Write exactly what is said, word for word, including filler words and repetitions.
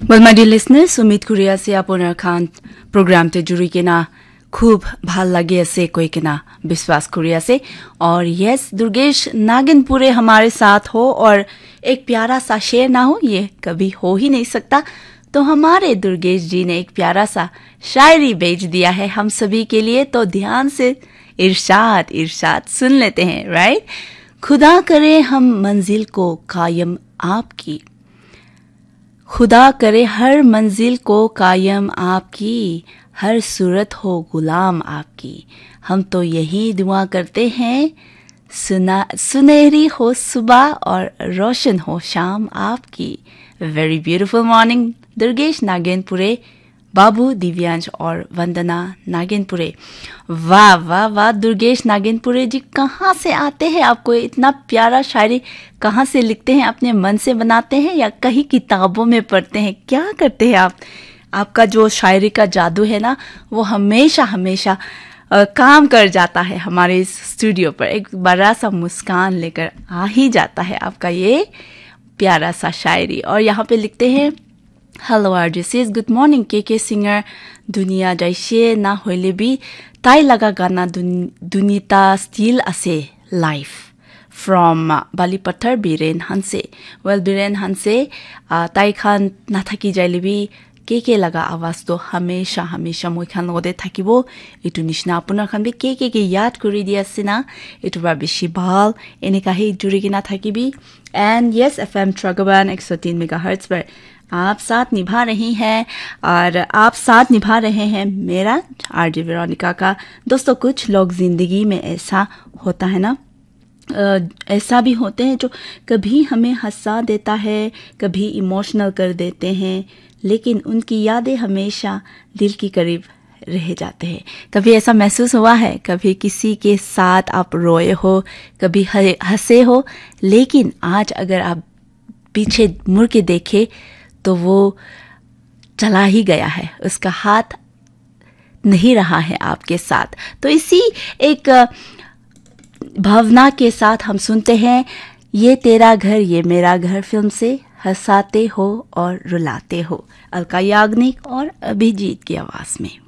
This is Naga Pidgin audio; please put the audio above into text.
Well, my dear listeners, উমিদ কৰি আছে আপোনাৰ খান প্ৰগ্ৰামটো জুৰি কিনা খুব ভাল লাগি আছে কৈ কিনা বিশ্বাস কৰি আছে। আৰু yes, দুৰ্গেশ नागेनपुरे हमारे साथ हो और एक प्यारा सा शेर ना हो, ये कभी हो ही नहीं सकता। तो हमारे दुर्गेश जी ने एक प्यारा सा शायरी भेज दिया है हम सभी के लिए, तो ध्यान से इरशाद, इरशाद सुन लेते हैं, राइट? खुदा करे हम मंजिल को कायम आपकी, खुदा करे हर मंजिल को कायम आपकी, हर सूरत हो गुलाम आपकी। हम तो यही दुआ करते हैं, सुना, सुनहरी हो सुबह और रोशन हो शाम आपकी। Very beautiful morning, दुर्गेश नागेनपुरे, बाबू दिव्यांश और वंदना नागेनपुरे। वाह, वाह, वाह, दुर्गेश नागेनपुरे जी, कहाँ से आते हैं? आपको इतना प्यारा शायरी कहाँ से लिखते हैं? अपने मन से बनाते हैं या कहीं किताबों में पढ़ते हैं? क्या करते हैं आप? आपका जो शायरी का जादू है ना, वो हमेशा, हमेशा, अ, काम कर जाता है हमारे इस स्टूडियो पर। एक बड़ा सा मुस्कान लेकर आ ही जाता है आपका ये प्यारा सा शायरी। और यहाँ पे लिखते हैं, Hello, R J says, Good morning, K K Singer. Dunia jaise na hoile bi, tai laga gana dun-, dunita still ase live. From, uh, Bali Pathar, Biren Hanse. Well, Biren Hanse, uh, tai khan nathaki jaile bi, K K laga awaz to hamesha, hamesha moi khan logote thakibo. Itu nishina apunar khan bi K K ke yaad kuri di ase na. Itu ba bishi bhal. Eneka hi juri kena thakibi. And yes, F M Tragaban ek so tin megahertz par aap saath nibha rahi hai aur aap saath nibha rahe hain mera R J Veronica ka. दोस्तों, कुछ लोग जिंदगी में ऐसा होता है ना, अ, ऐसा भी होते हैं जो कभी हमें हंसा देता है, कभी इमोशनल कर देते हैं, लेकिन उनकी यादें हमेशा दिल की करीब रह जाते हैं। कभी ऐसा महसूस हुआ है, कभी किसी के साथ आप रोए हो, कभी ह-, हंसे हो, लेकिन आज अगर आप पीछे मुड़ के देखें तो वो चला ही गया है, उसका हाथ नहीं रहा है आपके साथ। तो इसी एक, अ, भावना के साथ हम सुनते हैं ये तेरा घर ये मेरा घर फिल्म से हंसाते हो और रुलाते हो, अलका याग्निक और अभिजीत की आवाज में।